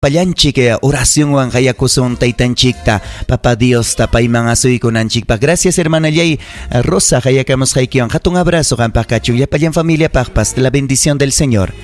Llapallanchik oracionwan qayakusun taytanchikta, Papa Diosta payman asuykunanchikpaq. Gracias hermanallay Rosa qayakamusqaykiwan. Hatun abrazo qampaq kachun, llapallan familiapaqpas. La bendición del Señor.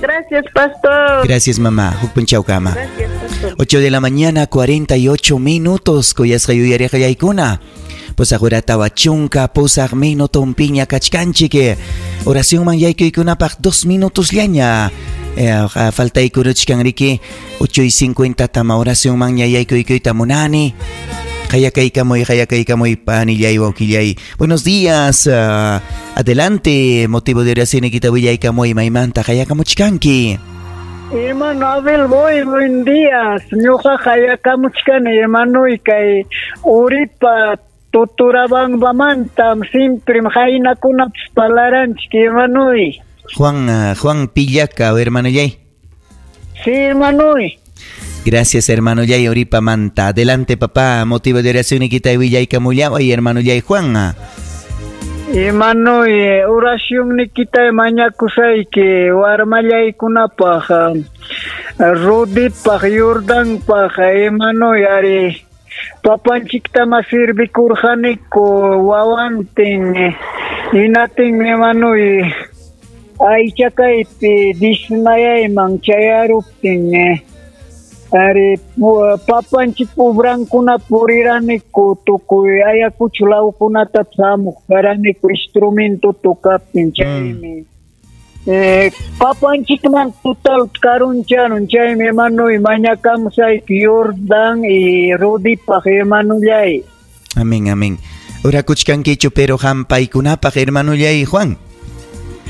Gracias, pastor. Gracias, mamá. Huk punchawkama. Gracias, pastor. 8 de la mañana, 48 minutos. Kuyasqa yuyariqallaykuna. Pusaq hora tawa chunka pusaq minutonpiña kachkanchik. Oracionman yaykuykunapaq 2 minutosllaña. Faltaykuruchkan riki 8:50 tama oracionman ña yaykuykuyta munani. Qayakaykamuy, qayakaykamuy, panillay, wawqillay. Buenos días. Adelante, motivo de oración nikita willaykamuy, maymanta qayakamuchkanki. Hermano Abel, voy, buen día. Ñuqa qayakamuchkani, hermano, y kay Uripa Tuturabambamantam siempre qaynakunapas palaranchik, hermano. Juan Pillaca, hermano Yay. Sí, hermano. Gracias, hermano Yay, Uripa Manta. Adelante, papá. Motivo de oración Nikita Willaykamullaway, hermano Yay Juan. Hermano, oración Nikita mañakusayki, warmallaykunapaq, Rudipaq, Jordanpaq, hermano, ari papanchiktama sirvikurqaniku wawantin, hinatin, hermano, aychakaypi dismayayman chayaruptin, ari papanchik obrankuna puriraniku tukuy Ayacucho lawkunata hamuq karaniku instrumento tocaptin, chaymi papanchikman total karuncharun, chaymi hermano, mañakamusayki Jordan y Rudipaq, hermanollay. Amén, amén. Orakuchkankichu pero hampaykunapaq, hermanollay Juan.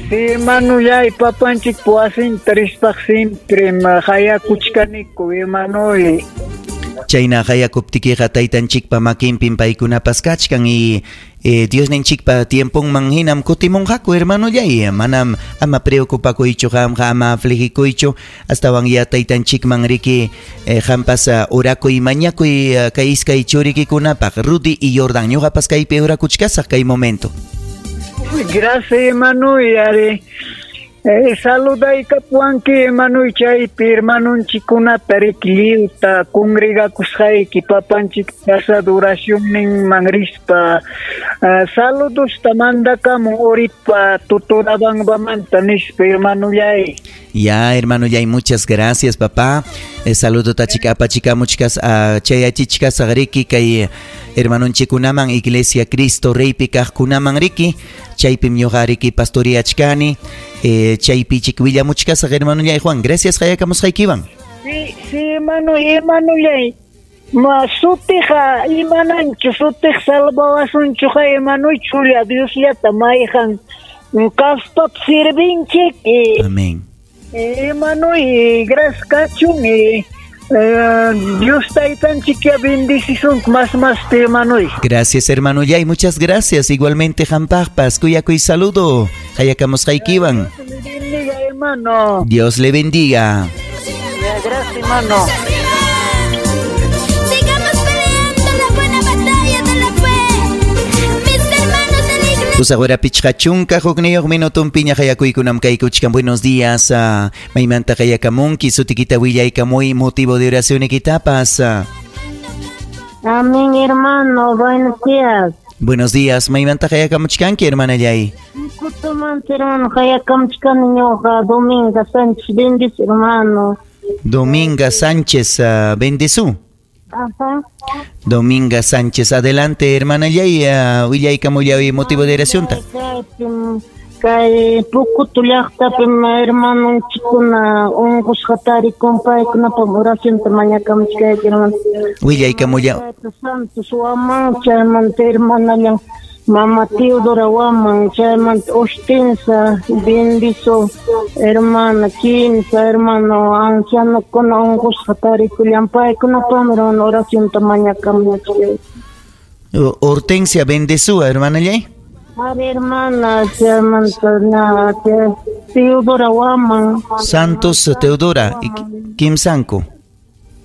Sí, hermanollay, papanchik wasinta rispaq siempre hayakuchkaniku, hermanoy. Chayna hayakuptikiqa taytanchikpa makinpim paykunapas kachkan y Diosninchikpa tiemponman hinam kutimunqaku, hermanollay. Manam ama preocupakuychu qamqa, ama afligikuychu, astawan ya taytanchikman riki qampas orakuy mañakuy kay iskay churikikunapaq, Rudy y Jordan. Ñuqapas kaypi orakuchkasaq kay momento. Gracias, hermano, y ari saludaykapuwanki, hermano, chaypi hermanonchikunata riki lliwta congregakusqayki papanchik casa de oracionninman rispa. Saludosta mandakamun Uripa Tuturabambamanta nispa, hermanollay. Ya, hermano, ya, y muchas gracias, papá. Saludo tachika apachikamuchkas chayachichkas riki kay hermanonchikunaman Iglesia Cristo Reypi kaqkunaman riki chaypim ñuqa riki pastoriachkani chaypi willamuchkasaq, hermano yay Juan. Gracias qayakamusqaykiwan. Sí, sí, hermano, hermano yay. Ma sutija imananchu sutij salvawasunchuqa, hermano, chulla Diosllata mayqan kaspap sirvinchik. Amén. Hermano, y gracias kachun, Dios taytanchik ya bendicisun más más te, hermano. Gracias, hermano Yay, muchas gracias. Igualmente, jampaqpas, kuyakuy saludo. Hayakamusqaykiwan. Dios le bendiga, hermano. Dios le bendiga. Gracias, hermano. Sigamos peleando la buena batalla de la fe. Mis hermanos de la iglesia. Pusaq hora pichqa chunka hukniyuq minutunpiña qayakuykunam kaykuchkan. Buenos días. Maymanta qayakamunki, sutikita willaykamuy, motivo de oración ikitapas. Amén, hermano. Buenos días. Buenos días. Maymanta qayakamuchkanki, hermana Yay. Kutumanta, hermano, qayakamuchkani ñuqa, Dominga Sánchez, bendice, hermano. Dominga Sánchez, bendezú. Ajá. Dominga Sánchez, adelante, hermana Yay, willaykamullawi motivo de oración. Kay Pucutu llaqtapim hermanonchikkuna unqusqa tarikun, paykunapaq oracionta mañakamuchkayki, hermano. Willaykamulla. Santos Waman, chaymanta hermanallan Mama Teodora Waman, chaymanta Hortensia, bendizo, hermana, kimsa hermano, ancianokuna unqusqa tarikullan, paykunapaqmi, hermano, oracionta mañakamuchkayki. Hortensia, bendezúa, hermana Yay. Ari, hermana, chaymanta na Teodora Waman. Santos Teodora, y kimsanku.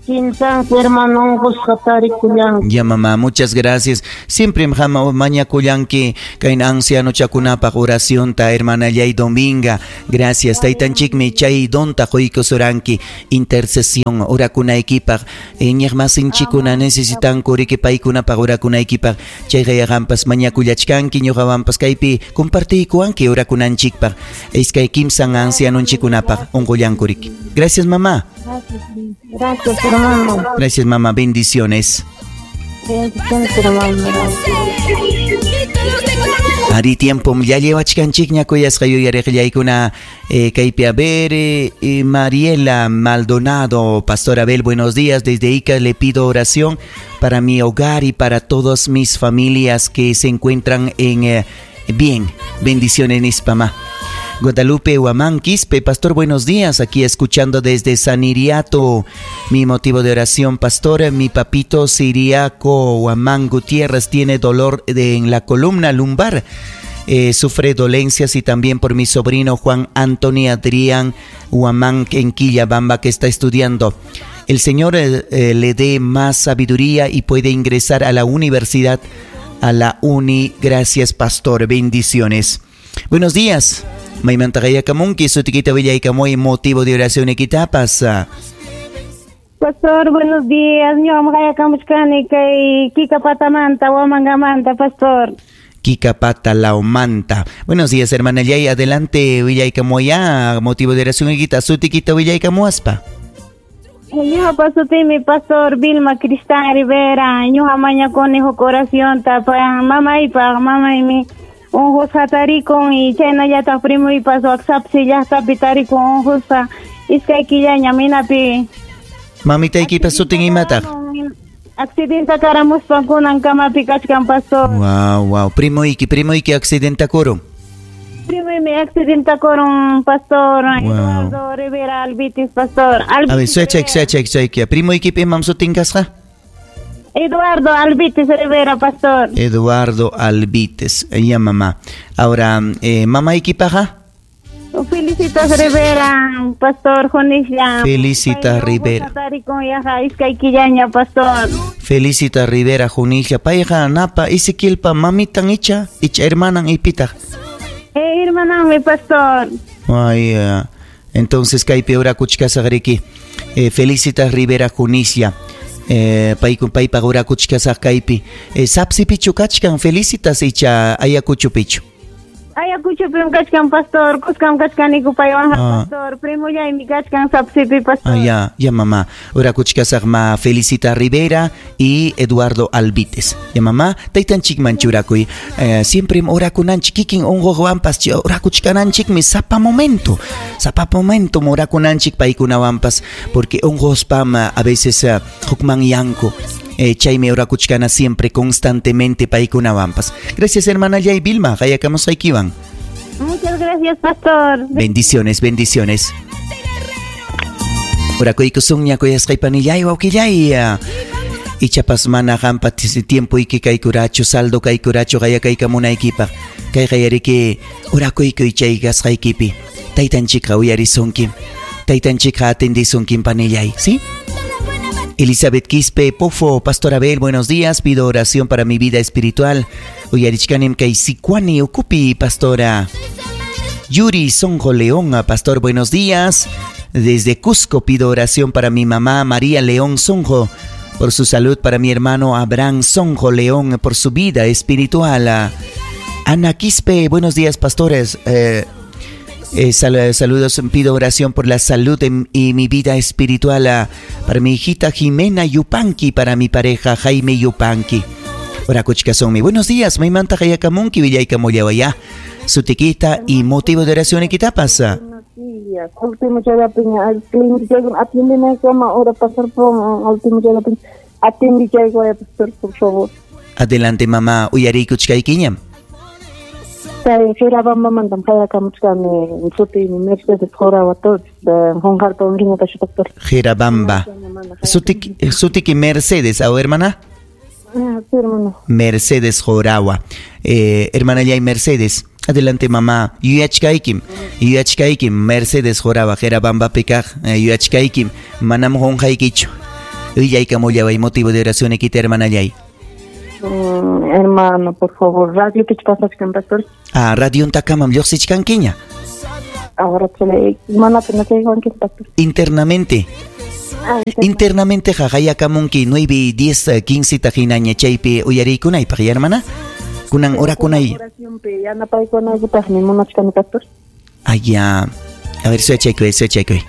Kimsanku hermano unqusqa tarikullanku. Ya mamá, muchas gracias. Siempre mañakullanki kayna ancianochakunapaq oracionta hermana Yay Dominga. Gracias. Taytanchikmi chay donta quykusuranki intercesión orakunaykipaq. Iñiqmasinchikuna necesitanku riki paykunapaq orakunaykipaq. Chayqa yaqanpas mañakullachkanki ñuqawanpas kaypi compartiykuwanki orakunanchikpaq. Iskay kimsan ancianonchikunapaq unqullanku riki. Gracias mamá. Gracias, hermano. Gracias mamá, bendiciones. Bendiciones, hermano. Ari tiempo ya llevachkanchikña kuyasqa yuyariqllaykuna kaypi a ver Mariela Maldonado, Pastor Abel, buenos días. Desde Ica le pido oración para mi hogar y para todas mis familias que se encuentran en bien. Bendiciones, Nispama. Guadalupe Huamán Quispe, pastor, buenos días, aquí escuchando desde San Iriato. Mi motivo de oración, pastor, mi papito Siriaco Huamán Gutiérrez tiene dolor en la columna lumbar, sufre dolencias, y también por mi sobrino Juan Antonio Adrián Huamán en Quillabamba, que está estudiando. El Señor le dé más sabiduría y puede ingresar a la universidad, a la uni. Gracias, pastor, bendiciones. Buenos días. Maymantaqaya kamunki, sutikita willaykamuy, motivo de oración ekitapas. Pastor, buenos días. Ñuqam qayakamuchkani kay Kikapatamanta, Huamangamanta, pastor. Kikapata, Laumanta. Buenos días, hermana Yay. Adelante, willaykamuya, motivo de oración ekita, sutikita willaykamuaspa. Ñuqapa sutimi pastor Vilma Cristán Rivera. Ñuqa mañakuni huk oracionta pa mamaypaq, mamaymi unqusqa tarikun y chaynallataq primuypas WhatsAppsi llaqtapi tarikun unqusqa iskay killaña minapi. Mamitaykipa sutin imataq? Accidenta karamuspan kunan kamapi kachkan, pastor. Wow, wow. Primuyki accidentakurun. Primuymi accidentakurun, pastor. Wow. Eduardo Rivera Albitis, pastor. Albitis. A ver, suechayki. Primuykipa imam sutin kasqa? Eduardo Albites Rivera, pastor. Eduardo Albites, ya mamá. Ahora, mamaykipaqa? Felicitas Rivera, pastor Junisla. Felicitas Rivera. Pastor. Felicitas Rivera Junisla. Payqa napa Ezequielpa mamitan icha hermanan ipitaq. Hermananmi, pastor. Ay, entonces kaypi orakuchkasaqriki. Felicitas Rivera Junisla. Paypaq orakuchkasaq kaypi. Sapsipichu kachkan Felicitas icha Ayacuchopichu? Ayacuchopim kachkan, pastor. Kuskam kachkaniku paywan, pastor. Primullaymi kachkan Sapsipi, pastor. Ah, ya, mamá. Orakuchkasaq ma Felicitas Rivera y Eduardo Albites. Ya, mamá. Taytanchikman churakuy. Siempre orakunanchik kikin unquqwanpas orakuchkananchikmi sapa momento. Sapa momento orakunanchik paykunawanpas, porque unquspam a veces hukmanyanku. Chaymi orakuchkana siempre constantemente paykunawanpas. Gracias, hermana Yay Vilma. Qayakamusqaykiwan. Muchas gracias, pastor. Bendiciones, bendiciones. Orakuykusunña kuyasqaypanillay wawqillay. Ichapas mana qampa tiempoyki kaykurachu, saldo kaykurachu qayakaykamunaykipaq. Kayqa yariki orakuykuy chay kasqaykipi. Taytanchikqa uyarisunki. Taytanchikqa atendisunki panillay, ¿sí? Elizabeth Quispe Pofo, Pastor Abel, buenos días. Pido oración para mi vida espiritual. Uyarichkanim kay Sicuani Ucupi, pastora. Yuri Sonjo León, pastor, buenos días. Desde Cusco pido oración para mi mamá María León Sonjo, por su salud, para mi hermano Abraham Sonjo León, por su vida espiritual. Ana Quispe, buenos días, pastores. Saludos, pido oración por la salud y mi vida espiritual, para mi hijita Jimena Yupanqui, para mi pareja Jaime Yupanqui. Orakuchkasonmi. Buenos días, maymanta qayakamunki willaykamullawaya. Sutiquita y motivo de oración y quitapasa. Buenos días. Último chayapin, atiéndeme cama ahora pastor, último chayapin, atiende pastor, por favor. Adelante, mamá, uyarikuchkaykiñam. Jerabamba mantam qayakamuchkani sutiymi Mercedes Jorawa Jonjarpa unriñatachu, pastor. Jerabamba. Sutiki Mercedes, ¿o hermana? Sí, hermano. Mercedes Jorawa. Hermana Yay Mercedes. Adelante, mamá. Yuyachkaykim. Yuyachkaykim. Mercedes Jorawa. Jerabamba pikaj. Yuyachkaykim. Manam jonjaykichu. Willaykamullaway motivo de oración ikita, hermanallay. Hermano, por favor, radio que pasachkan, pastor. Ah, radiontakamam lluqsichkankiña. Ahora se mana tenachaywanki, pastor. Internamente. Ah, Internamente jajayakamunki 9 y 10, 15 tajinaña chaypi uyariykunaypaq, ya, hermana. Kunan orakunay. Oracionpi yanapaykunaykipaqmi munachkani, pastor. Ah, ya. A ver, suyachaykuy, suyachaykuy.